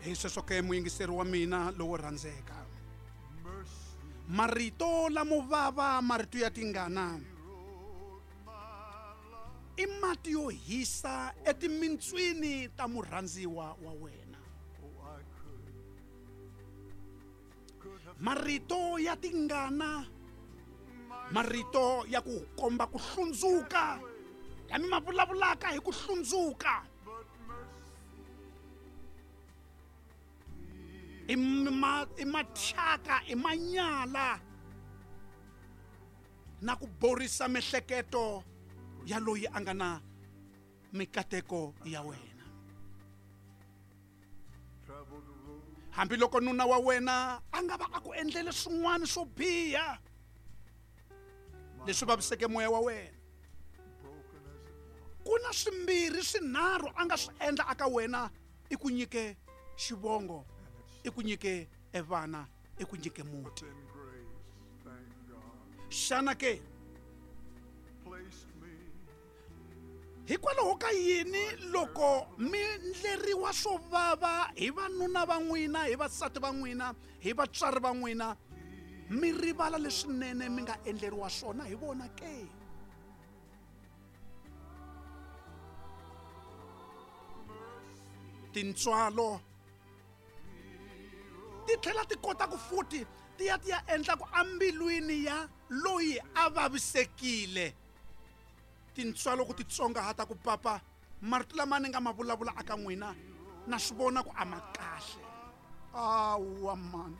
Hi sweswo ke muyingiseri wa mina lowo rhandzeka, marito lamo vava, marito ya tingana i mati yo hisa etimintswini ta murhandziwa wa wena. Marito ya tingana, marito ya ku komba ku hlundzuka, lami ma vulavulaka hi ku hlundzuka, i mathyaka, i manyala na ku borisa mihleketo ya loyi a nga na mikateko ya wena. Hambiloko nuna wa wena a nga va a ku endlele swin'wana swo biha leswi vaviseke moya wa wena, ku na swimbirhi swinharhu a nga swi endla aka wena, i ku nyike xivongo, i ku nyike evana, i ku nyike muti. Xana ke hikwalaho ka yini loko mi ndleriwa swo vava hi vanuna va n'wina, hi vasati va n'wina, hi vatswari va n'wina, mi rivala leswinene mi nga endleriwa swona hi vona ke? Tintswalo ti tlhela ti kota ku futhi ti ya ti ya endla ku ambilwini ya loyi a vavisekile. Tintswalo ku titsongahata ku papa marito lama ni nga ma vulavula aka n'wina na swi vona ku a ma kahle. Awa mani,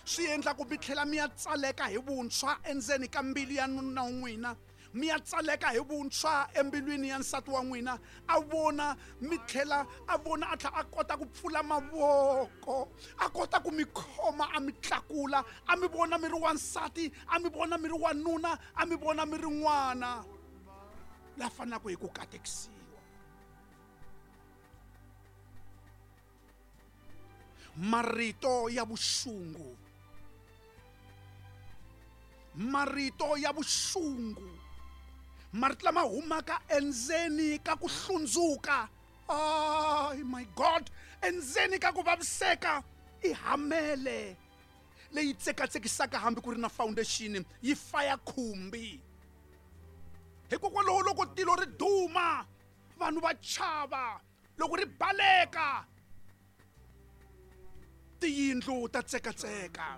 swi endla ku mi tlhela mi ya tsaleka hi vuntshwa endzeni ka mbilu ya nuna wa n'wina, mi ya tsaleka hi vuntshwa embilwini ya nsati wa n'wina, a vona mi tlhela a vona a tlhela a kota ku pfula mavoko, a kota ku mi khoma, a mi tlakula, a mi vona mi ri wansati, a mi vona mi ri wanuna, a mi vona mi ri n'wana la fanelaka hi ku katekisiwa. Marito ya vuxungu, marito ya vuxungu, marito lama humaka endzeni ka ku hlundzuka, oh my God, endzeni ka ku vaviseka, i hamele leyi tsekatsekisaka hambi ku ri na foundation, yi faya khumbi. Hikokwalaho loko tilo ri duma, vanhu va chava, loko ri baleka tiyindlu ta tsekatseka.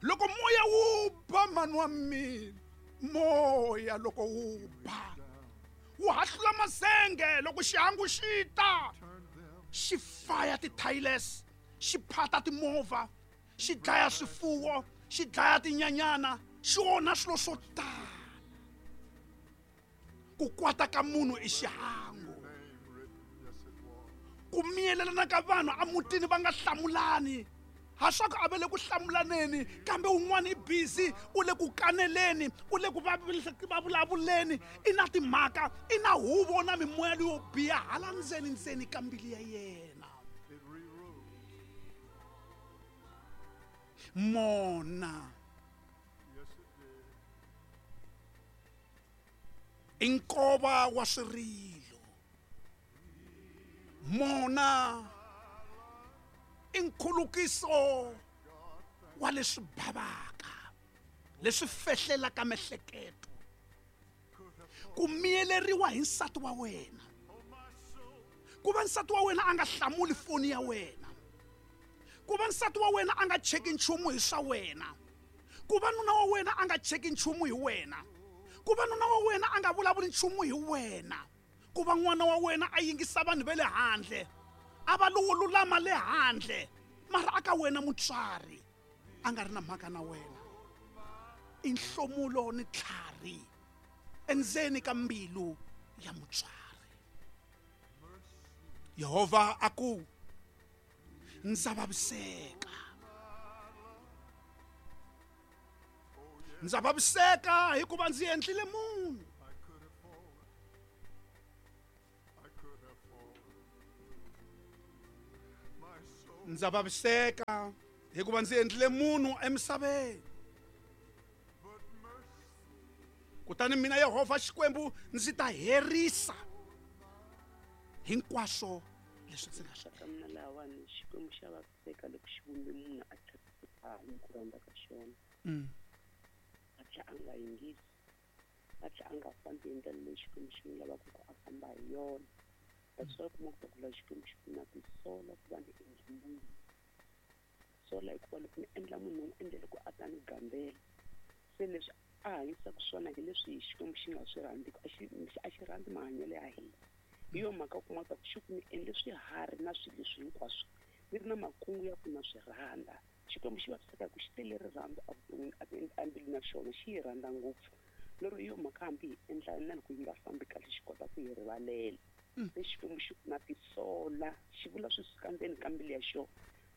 Loko moya wu ba, mani wa mina, moya loko wu ba wu hahlula mazenge, loko xihangu xi ta xi faya ti-tiles, xi phata timovha, xi dlaya swifuwo, xi dlaya tinyanyana, xi onha swilo swo tala. Ku kwata ka munhu i xihangu, ku miyelelana ka vanhu emutini va nga hlamulani, ha swa ku a va le ku hlamulaneni, kambe un'wana i busy, u le ku kaneleni, u le ku vulavuleni, i na timhaka, i na huvo na mimoya leyo biha hala ndzeni ndzeni ka mbilu ya yena. Mona i nkova wa swirilo, mona i nkhulukiso wa leswi bavaka, leswi fehlelaka mehleketo. Ku miyeleriwa hi nsati wa wena, ku va nsati wa wena a nga hlamuli foni ya wena, ku va nsati wa wena a nga cheki nchumu hi swa wena, ku va nuna wa wena a nga cheki nchumu hi wena, ku va nuna wa wena a nga vulavuli nchumu hi wena, ku va n'wana wa wena a yingisa vanhu va le handle, a va lowo lulama le handle, mara aka wena mutswari a nga ri na mhaka na wena, i nhlomulo ni tlhari endzeni ka mbilu ya mutswari. Yehovha a ku, ndza vaviseka, ndza vaviseka hikuva ndzi endlile munhu. Ndza vaviseka hikuva ndzi endlile munhu emisaveni. Kutani mina Yehovha Xikwembu ndzi ta herisa hinkwaswo Leswi ndzi nga swi Ka mina lahawani Xikwembu xa vaviseka loko xi vumbe munhu a tlhela a hanyi ku rhandza ka xona. A tlhela a nga yingisi, a tlhela a nga fambi hi ndlela leyi Xikwembu xi n'wi lavaka ku a famba hi yona. That's why u kuma ku la Xikwembu xi ku na tisola ku va ni endle munhu. Sola hikuva loko ni endla munhu ni n'wi endlele ku a ta ni gandzela. Se leswi a hanyisaka swona hi leswi Xikwembu xi nga swi rhandziki, a xi rhandzi mahanyelo ya hina. Hi yo mhaka u kuma ku xi ku ni endle swiharhi na swilo leswi hinkwaswo ni ri na makungu ya ku na swi rhandza. Xikwembu xi vaviseka hi ku xi tele rirhandzu evuton'wini embilwini ya xona, xi yi rhandza ngopfu. Lero hi yo mhaka hambi hi endla na loko yi nga fambi kahle xi kota ku hi rivalela. Se Xikwembu xi ku na tisola, xi vula swi suka ndzeni ka mbilu ya xona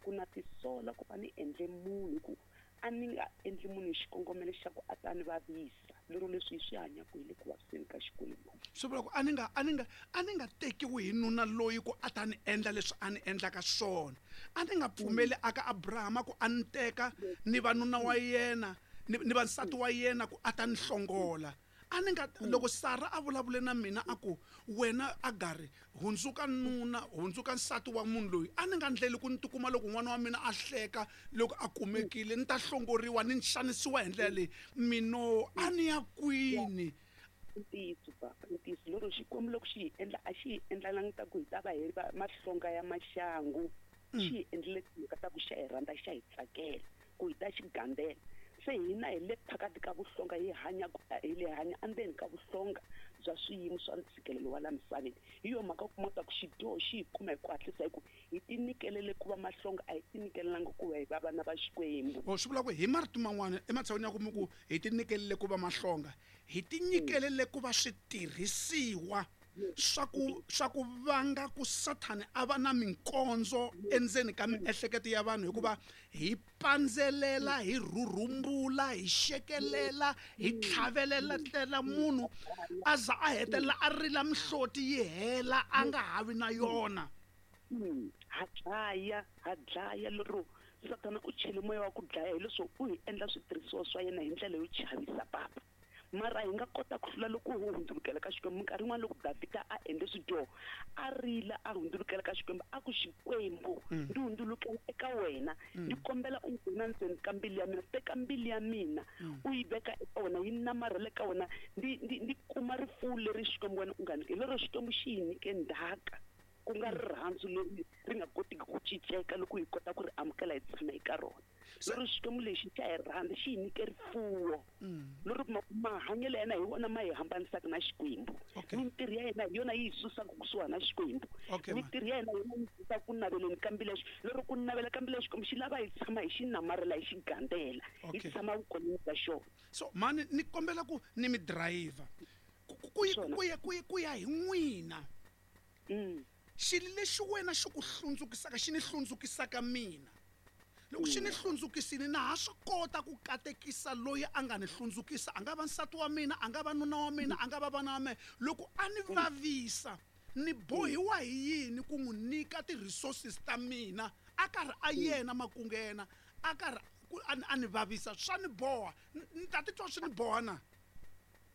ku na tisola ku va ni endle munhu hi ku a ni nga endli munhu hi xikongomelo xa ku a ta ni vavisa. Lero leswi hi swi hanyaka hi le ku vaviseni ka Xikwembu. Swi vula ku a ni nga a ni nga a ni nga tekiwi hi nuna loyi ku a ta ni endla leswi a ni endlaka swona. A ni nga pfumeli aka Abrahama ku a ni teka ni va nuna wa yena ni va nsati wa yena ku a ta ni hlongola. A ni nga loko Sara a vulavule na mina a ku wena Agari hundzuka nuna hundzuka nsati wa munhu loyi, a ni nga ndleli ku ni tikuma loko n'wana wa mina a hleka loko a kumekile ni ta hlongoriwa ni xanisiwa hi ndlela leyi mino a ni ya kwini. Ntiyiso papa, ntiyiso. Lero Xikwembu loko xi hi endla a xi hi endlelangi ta ku hi ta va hi va mahlonga ya maxangu. Xi hi endlele timhaka ta ku xa hi rhandza, xa hi tsakela ku hi ta xi gandzela. Se hina hi le phakati ka vuhlonga, hi hanya hi le hanya endzeni ka vuhlonga bya swiyimo swa ntshikelelo wa la misaveni. Hi yo mhaka u kuma ku xidyoho xi hi kuma hi ku hatlisa hi ku hi tinyikelele ku va mahlonga, a hi tinyikelelangi ku va hi va vana va Xikwembu. O swi vula ku hi marito man'wana ematshan'wini ya ku mi ku hi tinyikelele ku va mahlonga, hi tinyikelele ku va switirhisiwa swa ku vanga ku Sathani a va na minkondzo endzeni ka miehleketo ya vanhu, hikuva hi pandzelela, hi rhurhumbula, hi xekelela, hi tlhavelela tlela munhu a za a hetelela a rila mihloti yi hela a nga ha vi na yona. Ha dlaya, ha dlaya lero Sathana u chele moya wa ku dlaya hileswo u hi endla switirhisiwa swa yena hi ndlela yo chavisa papa. Mara hi nga kota ku hlula loko ho hundzulukela ka Xikwembu. Minkarhi yin'wana loko Davhida a endle swidyoho, a rila a hundzulukela ka Xikwembu, a ku Xikwembu ndzi hundzulukela eka wena, ndzi kombela u nghena ndzeni ka mbilu ya mina, teka mbilu ya mina u yi veka eka wena, yi namarhela eka wena, ndzi kuma rifuwo leri Xikwembu wena u nga nyika. Hi lero Xikwembu xi hi nyike ndzhaka, ku nga rirhandzu leri ri nga kotiki ku cinceka loko hi kota ku ri amukela hi tshama eka rona. Lero Xikwembu lexi xa hi rhandza, xi hi nyike rifuwo. Lero mahanyelo ya yena hi wona ma hi hambanisaka na Xikwembu. Mintirho ya yena hi yona yi hi susaka kusuhana na Xikwembu. Mintirho ya yena hi yona yi susaka ku naveleni ka mbilu ya Lero ku navela ka mbilu ya Xikwembu xi lava hi tshama hi xi namarhela, hi xi gandzela, hi tshama vukoneni bya xona. So mani ni kombela ku ni mi driver ku ya hi n'wina. Xilo lexi wena xi ku hlundzukisaka xi ni hlundzukisaka mina. Loko xi ni hlundzukisile na ha swi kota ku katekisa loyi a nga ni hlundzukisa, a nga va nsati wa mina, a nga va nuna wa mina, a nga va vana va mina. Loko a ni vavisa ni bohiwa hi yini ku n'wi nyika ti-resources ta mina a karhi a yena makungu ya yena a karhi a ni vavisa, swa ni boha. Ni ta titwa swi ni boha na?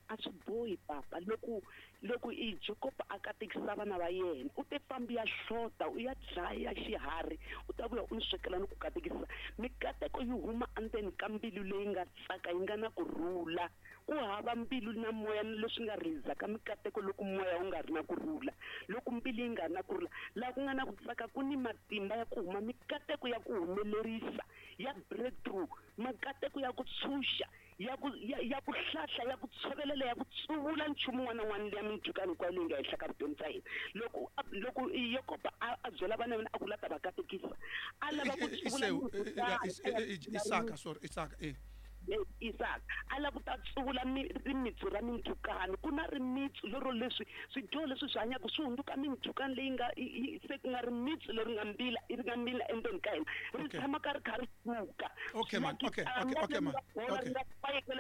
A swi bohi papa. Loko loko i Jacob a katekisa vana va yena, u te fambi ya hlota, u ya dlaya xiharhi, u ta vuya u ni swekela ni ku katekisa. Mikateko yi huma endzeni ka mbilu leyi nga tsaka, yi nga na kurhula. Ku hava mbilu na moya leswi nga releasaka mikateko loko moya wu nga ri na kurhula, loko mbilu yi nga ri na kurhula. Laha ku nga na ku tsaka ku ni matimba ya ku huma mikateko ya ku humelerisa, ya breakthrough, mikateko ya ku tshunxa, ya ku ya ku hlahla, ya ku tshovelela, ya ku tsuvula nchumu wun'wana na wun'wana liya mindzhukano hinkwayo leyi nga henhla ka vutomi bya hina. Loko loko Yakobo a byela vana va yena a ku la ta va katekisa, a lava ku tsuvula Isaka, sorry, Isaka, Isaka a lava ku ta tsuvula rimitsu ra mindzhukano. Ku na rimitsu lero leswi swidyoho leswi swi hanyaka swi hundzuka mindzhukano leyi nga se ku nga rimitsu leri nga mbila ri nga mila endzeni ka hina, ri tshama ka ri kha ri suka. Okay man, okay, okay, okay man. Okay. Ri nga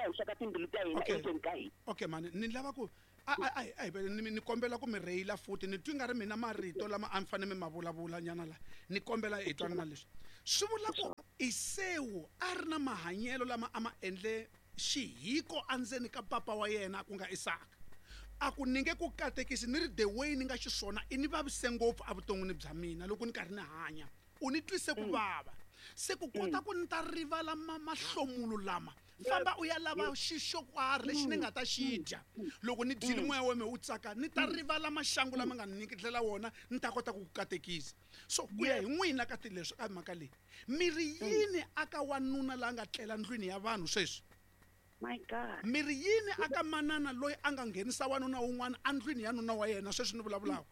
henhla ka timbilu ta hina endzeni ka hina. Okay man, ni lava ku a hi ni kombela ku mi rheyila futhi ni twi nga ri mina marito lama a mi fanele mi ma vulavula nyana la. Ni kombela hi twanana leswi. Swi vula ku Esewu a ri na mahanyelo lama a ma endle xihiko endzeni ka papa wa yena ku nga Isaka. A ku ni nge ku katekisi ni ri the way ni nga xiswona i ni vavise ngopfu evuton'wini bya mina loko ni karhi ni hanya u ni twise ku vava se ku kota ku ni ta rivala mahlomulo lama famba u ya lava xixo karhi lexi ni nga ta xi dya loko ni dyile moya wa mina wu tsaka ni ta rivala maxangu lama nga ni nyiketela wona ni ta kota ku ku katekisa. So ku ya hi n'wina ka tileswi ka mhaka leyi mi ri yini aka wanuna la nga tlela ndlwini ya vanhu sweswi? My God. Mi ri yini aka manana loyi a nga nghenisa wanuna wun'wana endlwini ya nuna wa yena sweswi ni vulavulaka?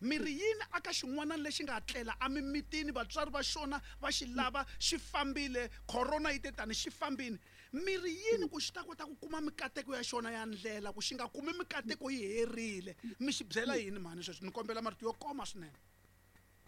Mi ri yini aka xin'wana lexi nga tlela emimitini vatswari va xona va xi lava xi fambile corona yi te tani xi fambile? Mi ri yini ku xi ta kota ku kuma mikateko ya xona ya ndlela ku xi nga kumi mikateko yi herile? Mi xi byela yini mhani sweswi? Ni kombela marito yo koma swinene.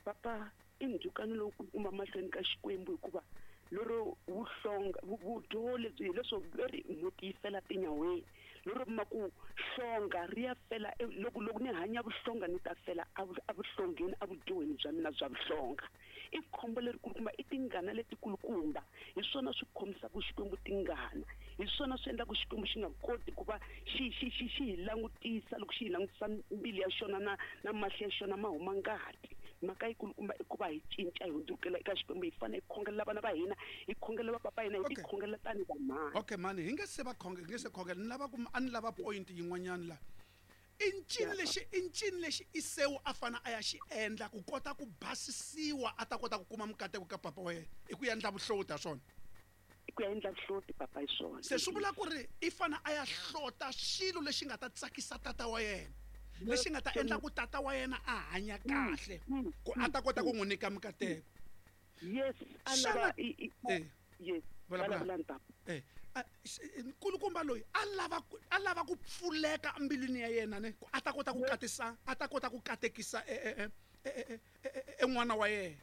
Papa, i ndzhukano lowu kulukumba mahlweni ka Xikwembu hikuva lero vuhlonga vudyoho lebyi hileswo veri mhoti yi fela tinyaweni lero ma ku hlonga ri ya fela loko loko ni hanya vuhlonga ni ta fela evuhlongeni evudyohweni bya mina bya vuhlonga. I khombo lerikulukumba, i tingana letikulukumba. Hi swona swi khomisaka Xikwembu tingana, hi swona swi endlaka Xikwembu xi nga koti ku va xi xi xi xi hi langutisa loko xi hi langutisa mbilu ya xona na na mahlo ya xona ma huma ngati. Mhaka yikulukumba i ku va hi cinca hi hundzukela eka Xikwembu, hi fanele hi khongelela vana va hina, hi khongelela vapapa hina, hi tikhongelela tanihi vamhani. Okay mhani, hi nge se va khonge hi nge se khongela ni lava ku a ni lava point yin'wanyana la. I ncini lexi i ncini lexi Isewu a fane a ya xi endla ku kota ku basisiwa a ta kota ku kuma mikateko ka papa wa yena? I ku endla vuhloti ha swona? I ku ya endla vuhloti papa hi swona. Se swi vula ku ri i fane a ya hlota xilo lexi nga ta tsakisa tata wa yena, lexi nga ta endla ku tata wa yena a hanya kahle ku a ta kota ku n'wi nyika mikateko. Yes, a lava yes, vulavulani papa. Nkulukumba loyi a lava a lava ku pfuleka embilwini ya yena ne ku a ta kota ku katisa a ta kota ku katekisa e n'wana wa yena.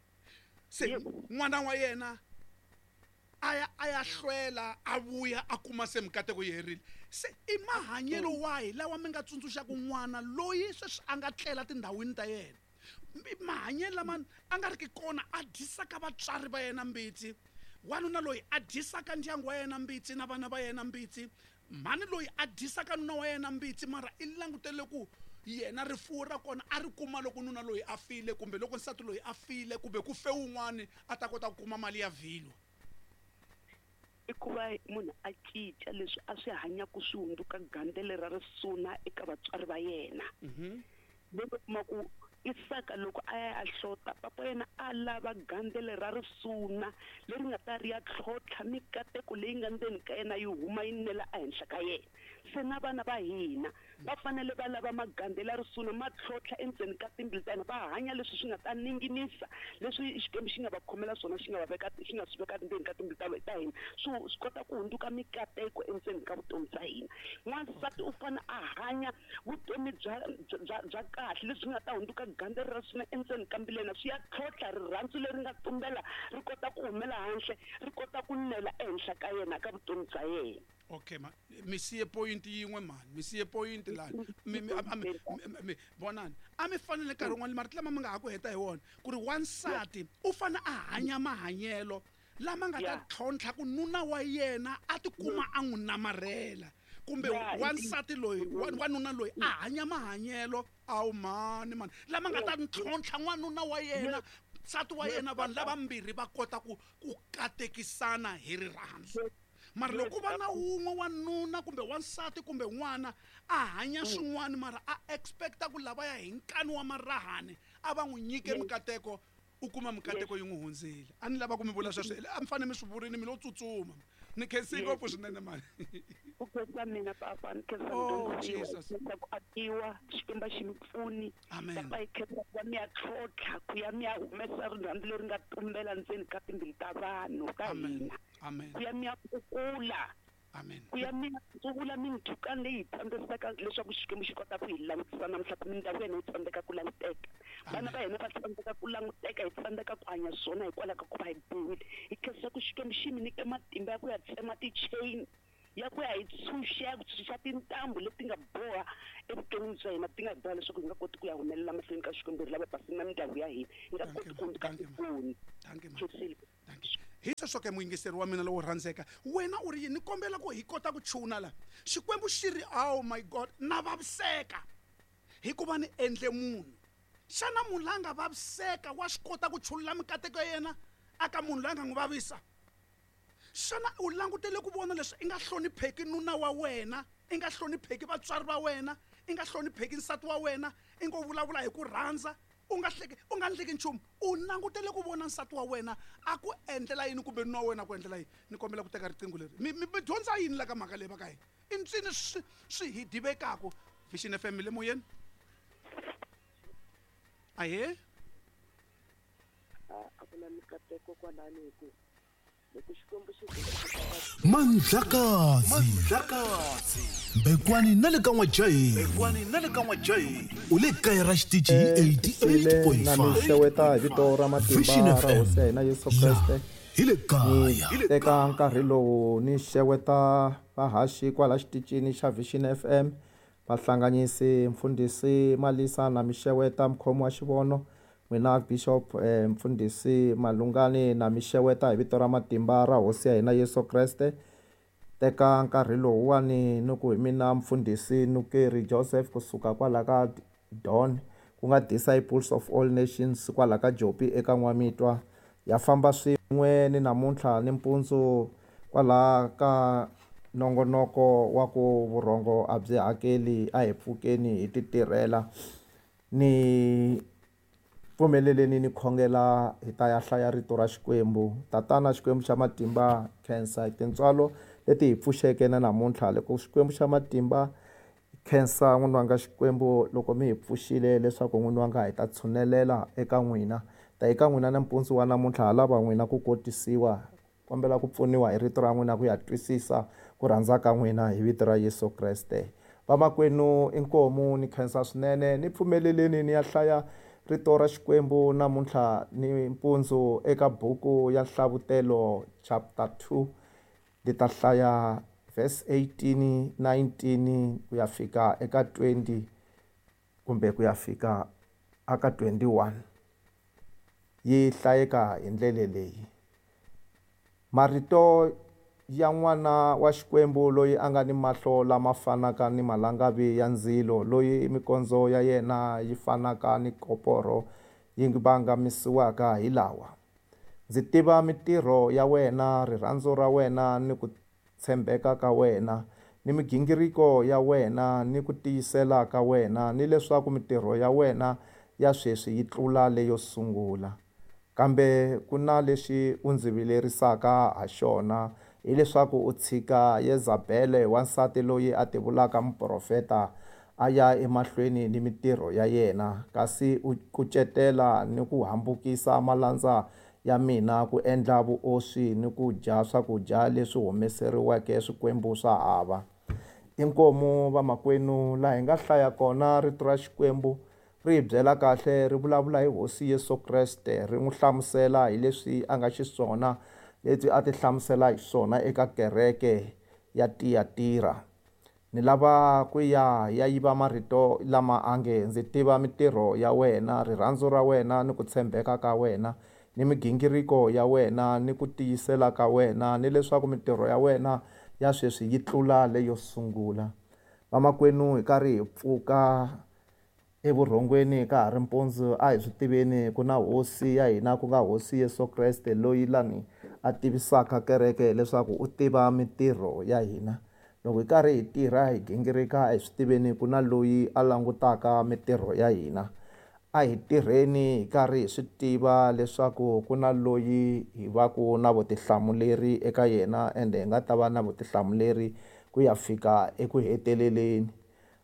Se n'wana wa yena a ya a ya hlwela a vuya a kuma se mikateko yi herile. Se i mahanyelo wahi lawa mi nga tsundzuxaka n'wana loyi sweswi a nga tlela tindhawini ta yena? Mahanyelo lama a nga ri ki kona a dyisaka vatswari va yena mbitsi, wanuna loyi a dyisaka ndyangu wa yena mbitsi na vana va yena mbitsi, mhani loyi a dyisaka nuna wa yena mbitsi mara i langutele ku yena rifuwo ra kona a ri kuma loko nuna loyi a file kumbe loko nsati loyi a file kumbe ku fe wun'wani a ta kota ku kuma mali ya vhilwa. I ku va munhu a cinca leswi a swi hanyaka swi hundzuka gandzelo ra risuna eka vatswari va yena. Loko kuma ku Isaka loko a ya a hlota papa yena a lava gandzelo ra risuna leri nga ta ri ya tlhontlha mikateko leyi nga ndzeni ka yena yi huma yi nela ehenhla ka yena. Se na vana va hina va fanele va lava magandzelo ya risuna ma tlhontlha endzeni ka timbilu ta hina, va hanya leswi swi nga ta ninginisa leswi Xikwembu xi nga va khomela swona, xi nga va veka xi nga swi veka ndzeni ka timbilu ta hina, swi swi kota ku hundzuka mikateko endzeni ka vutomi bya hina. N'wansati u fanele a hanya vutomi bya bya bya kahle lebyi nga ta hundzuka gandzelo ra swona endzeni ka mbilu ya yena, swi ya tlhontlha rirhandzu leri nga tumbela ri kota ku humela handle ri kota ku nela ehenhla ka yena ka vutomi bya yena. Okay ma mi siye point yin'we mhani, mi siye point lani mi mi mi mi vonani a mi fanele nkarhi wun'wani marito lama mi nga ha ku heta hi wona ku ri wansati u fane a hanya mahanyelo lama nga ta tlhontlha ku nuna wa yena a tikuma a n'wi namarhela kumbe wansati loyi wanuna loyi a hanya mahanyelo awu mhani mhani lama nga ta ntlhontlha n'wanuna wa yena nsati wa yena vanhu lavambirhi va kota ku ku katekisana hi rirhandzu. Mara loko va na wun'we wanuna kumbe wansati kumbe n'wana a hanya swin'wana mara a expecta ku lavaya hi nkani wa marahani a va n'wi nyike mikateko u kuma mikateko yi n'wi hundzile. A ni lava ku mi vula sweswo a mi fanele mi swi vurini mi lo tsutsuma. Ni khensi ngopfu swinene mani. Ku khensa mina papa, ni khensa mudyondzisiwa ku akiwa Xikwembu xi mi pfuni. Papa hi khensa ku va mi ya tlhontlha ku ya mi ya humesa rirhandzu leri nga tumbela ndzeni ka timbilu ta vanhu ta hina. Ku ya mi ya kukula. Amen. Ku ya mi ya tsuvula mindzhukano leyi hi tsandzekaka leswaku Xikwembu xi kota ku hi langutisa namuntlha ku mindyangu ya hina yi tsandzeka ku languteka. Vana va hina va tsandzeka ku languteka, hi tsandzeka ku hanya swona hikwalaho ka ku va hi biwile. Hi khensa ku Xikwembu xi mi nyike matimba ya ku ya tsema ti-chain, ya ku ya hi tshunxa, ya ku tshunxa tintambu leti nga boha evuton'wini bya hina, ti nga hi boha leswaku hi nga koti ku ya humelela mahlweni ka Xikwembu hi ri lava basile na mindyangu ya hina, hi nga koti ku hundzuka tikoni. Thank you. Hi sweswo ke muyingiseri wa mina lowo rhandzeka, wena u ri yini? Ni kombela ku hi kota ku chuna la. Xikwembu xi ri, oh my God, na vaviseka hikuva ni endle munhu. Xana munhu la nga vaviseka wa swi kota ku chulula mikateko ya yena aka munhu loyi a nga n'wi vavisa? Xana u langutele ku vona leswi i nga hlonipheki nuna wa wena, i nga hlonipheki vatswari va wena, i nga hlonipheki nsati wa wena, i ngo vulavula hi ku rhandza, u nga hleki, u nga ndleki nchumu, u langutele ku vona nsati wa wena a ku endlela yini kumbe nuna wa wena a ku endlela yini? Ni kombela ku teka riqingho leri. Mi, mi, mi dyondza yini la ka mhaka leyi va ka hina? I ntswini swi, swi hi divekaku. Vision FM le moyeni. Ahee. A ku na mikateko kwalani hi ku loko Xikwembu xi Mandlakazi Mbekwani na le ka N'wajaheni Mbekwani na le ka N'wajaheni u le kaya ra xitichi hi Xile na mi 88.5 xeweta hi vito ra matimba Vision ra FM Hosi ya hina Yesu ya Kreste. hi le kaya Ni teka nkarhi lowu ni xeweta vahaxi kwala xitichini xa Vision FM, vahlanganyisi mfundhisi Malisa na mi xeweta mukhomi wa xivono, n'wina Bishop mfundhisi Malungani na mi xeweta hi vito ra matimba ra Hosi ya hina Yesu Kreste. Teka nkarhi lowuwani ni ku hi mina mfundhisi Nukeri Joseph kusuka kwala ka Don, ku nga Disciples of All Nations kwala ka Jopi eka N'wamitwa. Ya famba swin'we ni namuntlha ni mpundzu kwala ka nongonoko wa ku vurhongo a byi hakeli, a hi pfukeni hi ti tirhela. Ni pfumeleleni ni khongela hi ta ya hlaya rito ra Xikwembu. Tatana Xikwembu xa matimba, khensa hi tintswalo leti hi pfuxeke na namuntlha. Loko Xikwembu xa matimba, khensa n'wini wanga Xikwembu loko mi hi pfuxile leswaku n'wini wanga hi ta tshunelela eka n'wina. Ta eka n'wina na mpundzu wa namuntlha ha lava n'wina ku kotisiwa, kombela ku pfuniwa hi rito ra n'wina ku ya twisisa ku rhandza ka n'wina hi vito ra Yesu Kreste. Vamakwenu inkomu ni khensa swinene, ni pfumeleleni ni ya hlaya rito ra Xikwembu namuntlha ni mpundzu eka buku ya Nhlavutelo chapter 2. Ndi ta hlaya verse 18, 19 ku ya fika eka 20 kumbe ku ya fika aka 21. Yi hlayeka hi ndlela leyi. Marito ya n'wana wa Xikwembu loyi a nga ni mahlo lama fanaka ni malangavi ya ndzilo, loyi mikondzo ya yena yi fanaka ni koporo yi vangamisiwaka hi lawa. Ndzi tiva mitirho ya wena, rirhandzu ra wena ni ku tshembeka ka wena, ni migingiriko ya wena ni ku tiyisela ka wena, ni leswaku mitirho ya wena ya sweswi yi tlula leyo sungula. Kambe ku na lexi u ndzi vilerisaka ha xona, hileswaku u tshika Yezabele, wansati loyi a tivulaka muprofeta, a ya emahlweni ni mitirho ya yena, kasi u kucetela ni ku hambukisa malandza ya mina ku endla vuoswi ni ku dya swakudya leswi humeseriweke swikwembu swa hava. Inkomu vamakwenu, laha hi nga hlaya kona rito ra Xikwembu ri hi byela kahle, ri vulavula hi Hosi Yesu Kreste, ri n'wi hlamusela hi leswi a nga xiswona, leswi a ti hlamusela hi swona eka kereke ya Tiyatira. Ni lava ku ya ya yiva marito lama a nge ndzi tiva mitirho ya wena, rirhandzu ra wena ni ku tshembeka ka wena, ni migingiriko ya wena ni ku tiyisela ka wena, ni leswaku mitirho ya wena ya sweswi yi tlula leyo sungula. Vamakwenu, hi karhi hi pfuka evurhongweni ka ha ri mpundzu, a hi swi tiveni ku na Hosi ya hina, ku nga Hosi Yesu Kreste, loyi lani a tivisaka kereke leswaku u tiva mitirho ya hina. Loko hi karhi hi tirha hi gingirika, a hi swi tiveni ku na loyi a langutaka mitirho ya hina. A hi tirheni hi karhi hi swi tiva leswaku ku na loyi hi va ku na vutihlamuleri eka yena, ende hi nga ta va na vutihlamuleri ku ya fika eku heteleleni.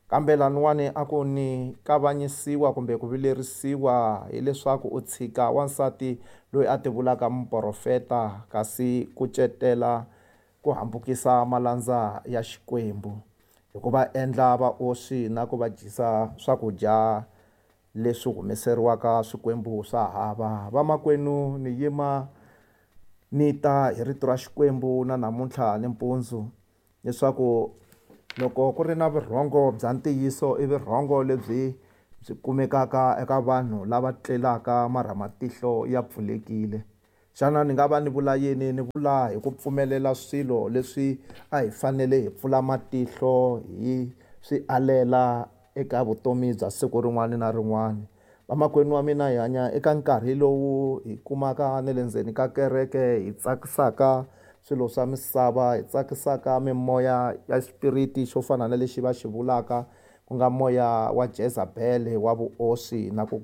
Kambe laniwani a ku ni kavanyisiwa kumbe ku vilerisiwa hileswaku u tshika wansati loyi a tivulaka muprofeta, kasi kucetela ku hambukisa malandza ya Xikwembu hi ku va endla vaoswi na ku va dyisa swakudya leswi humeseriwaka swikwembu swa hava. Vamakwenu, ni yima ni ta hi rito ra Xikwembu na namuntlha ni mpundzu, leswaku loko ku ri na vurhongo bya ntiyiso, i vurhongo lebyi byi kumekaka eka vanhu lava tlelaka marha matihlo ya pfulekile. Xana ni nga va ni vula yini? Ni vula hi ku pfumelela swilo leswi a hi fanele hi pfula matihlo hi swi alela eka vutomi bya siku rin'wana na rin'wana. Vamakwenu wa mina, hi hanya eka nkarhi lowu hi kumaka na le ndzeni ka kereke hi tsakisaka swilo swa misava, hi tsakisaka mimoya ya xipiriti xo fana na lexi va xi vulaka ku nga moya wa Jezabele wa vuoswi na ku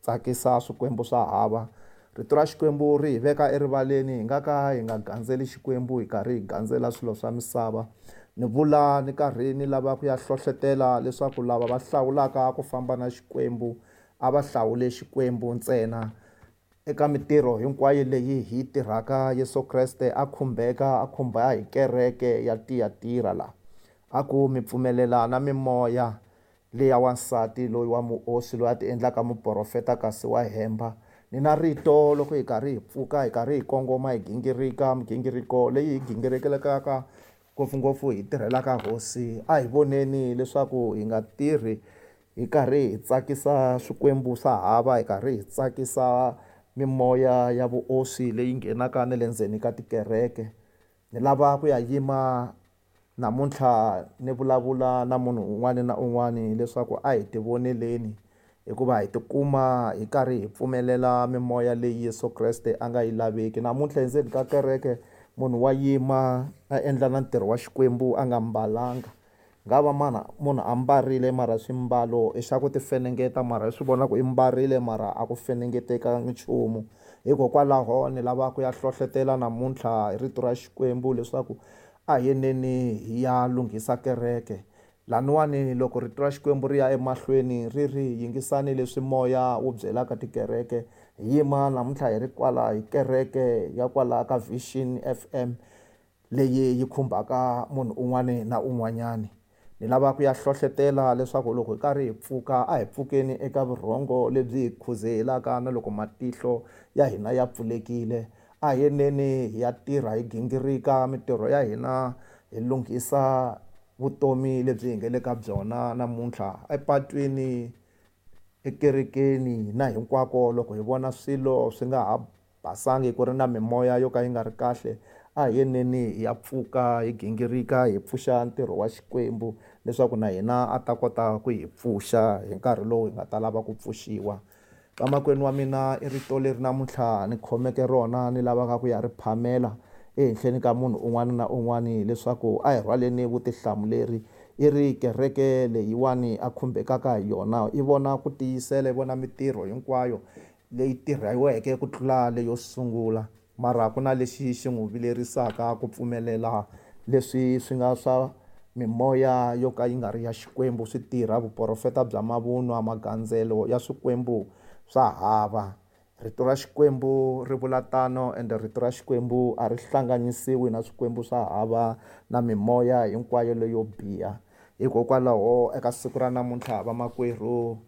tsakisa swikwembu swa hava. Rito ra Xikwembu ri hi veka erivaleni, hi nga ka hi nga gandzeli Xikwembu hi karhi hi gandzela swilo swa misava. Ni vula ni karhi ni lava ku ya hlohletela leswaku lava va hlawulaka ku famba na Xikwembu a va hlawule Xikwembu ntsena. Eka mitirho hinkwayo leyi hi tirhaka, Yesu Kreste a khumbeka, a khumba hi kereke ya Tiyatira la. A ku mi pfumelela na mimoya leya wansati loyi wa muoswi loyi a ti endlaka muprofeta kasi wa hemba. Ni na rito loko hi karhi hi pfuka, hi karhi hi kongoma, hi gingirika migingiriko leyi hi gingirikelaka ngopfungopfu hi tirhelaka hosi, a hi voneni leswaku hi nga tirhi hi karhi hi tsakisa swikwembu swa hava, hi karhi hi tsakisa mimoya ya vuoswi leyi nghenaka na le ndzeni ka tikereke. Ni lava ku ya yima namuntlha ni vulavula na munhu un'wana na un'wana leswaku a hi tivoneleni, hikuva hi tikuma hi karhi hi pfumelela mimoya leyi Yesu Kreste a nga yi laveki. Namuntlha endzeni ka kereke munhu wa yima a endla na ntirho wa Xikwembu a nga mbalanga. Nga va mana munhu a mbarile mara swimbalo i xa ku ti fenengeta, mara i swi vona ku i mbarile mara a ku fenengeteka nchumu. Hikokwalaho ni lava ku ya hlohletela namuntlha hi rito ra Xikwembu leswaku a hi yeneni hi ya lunghisa kereke. Laniwani loko rito ra Xikwembu ri ya emahlweni ri ri yingisani leswi moya wu byelaka tikereke. Hi yima namuntlha hi ri kwala hi kereke ya kwala ka Vision FM leyi yi khumbaka munhu un'wana na un'wanyani. Ni lava ku ya hlohletela leswaku loko hi karhi hi pfuka, a hi pfukeni eka vurhongo lebyi hi khuzehelaka na loko matihlo ya hina ya pfulekile. A hi yeneni hi ya tirha, hi gingirika mitirho ya hina, hi lunghisa vutomi lebyi hi nga le ka byona namuntlha epatwini, ekerekeni na hinkwako. Loko hi vona swilo swi nga ha basangi, ku ri na mimoya yo ka yi nga ri kahle, a hi yeneni hi ya pfuka, hi gingirika, hi pfuxa ntirho wa Xikwembu leswaku na hina a ta kota ku hi pfuxa hi nkarhi lowu hi nga ta lava ku pfuxiwa. Vamakwenu wa mina, i rito leri namuntlha ni khomeke rona, ni lavaka ku ya ri phamela ehenhleni ka munhu un'wana na un'wana leswaku a hi rhwaleni vutihlamuleri. I ri kereke leyiwani a khumbekaka hi yona, i vona ku tiyisela, i vona mitirho hinkwayo leyi tirhiweke ku tlula leyo sungula, mara ku na lexi xi n'wi vilerisaka ku pfumelela leswi swi nga swa mimoya yo ka yi nga ri ya Xikwembu swi tirha, vuprofeta bya mavunwa, magandzelo ya swikwembu swa hava. Rito ra Xikwembu ri vula tano, ende rito ra Xikwembu a ri hlanganisiwi na swikwembu swa hava na mimoya hinkwayo leyo biha. Hikokwalaho eka siku ra namuntlha vamakwerhu,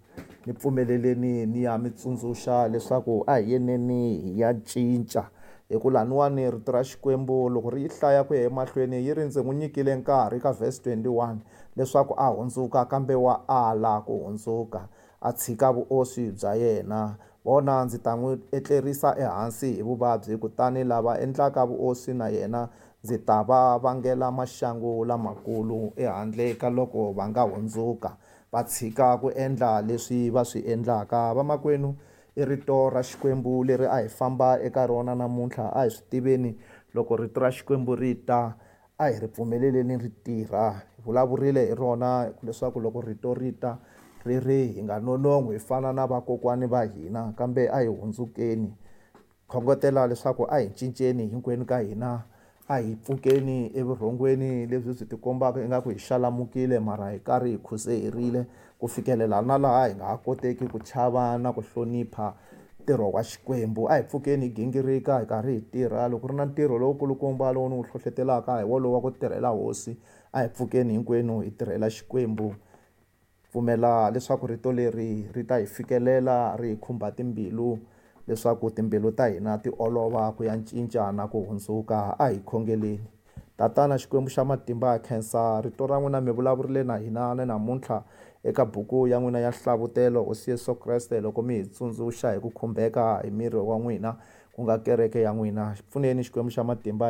ni pfumeleleni ni ya mi tsundzuxa leswaku a hi yeneni hi ya cinca. Hi ku laniwani rito ra Xikwembu loko ri yi hlaya ku ya emahlweni yi ri ndzi n'wi nyikile nkarhi ka verse 21 leswaku a hundzuka, kambe wa ala ku hundzuka, a tshika vuoswi bya yena. Vona, ndzi ta n'wi etlerisa ehansi hi vuvabyi, kutani lava endlaka vuoswi na yena ndzi ta va vangela maxangu lamakulu, ehandle ka loko va nga hundzuka va tshika ku endla leswi va swi endlaka. Vamakwenu, i rito ra Xikwembu leri a hi famba eka rona namuntlha. A hi swi tiveni loko rito ra Xikwembu ri ta, a hi ri pfumeleleni ri tirha. Hi vulavurile hi rona leswaku loko rito ri ta ri ri hi nga nonon'hwi hi fana na vakokwani va hina, kambe a hi hundzukeni. Khongotela leswaku a hi cinceni hinkwenu ka hina, a hi pfukeni evurhongweni lebyi byi tikombaka ingaku hi xalamukile, mara hi karhi hi khuzeherile ku fikelela na laha hi nga ha koteki ku chava na ku hlonipha ntirho wa Xikwembu. A hi pfukeni hi gingirika hi karhi hi tirha. Loko ku ri na ntirho lowukulukumba lowu ni wu hlohletelaka hi wolowo wa ku tirhela hosi, a hi pfukeni hinkwenu hi tirhela Xikwembu. Pfumela leswaku rito leri ri ta hi fikelela, ri hi khumba timbilu, leswaku timbilu ta hina ti olova ku ya cinca na ku hundzuka. A hi khongeleni. Tatana Xikwembu xa matimba, ha khensa rito ra n'wina, mi vulavurile na hina na namuntlha eka buku ya n'wina ya Nhlavutelo, Hosi Yesu Kreste, loko mi hi tsundzuxa hi ku khumbeka hi miri wa n'wina, ku nga kereke ya n'wina. Pfuneni Xikwembu xa matimba.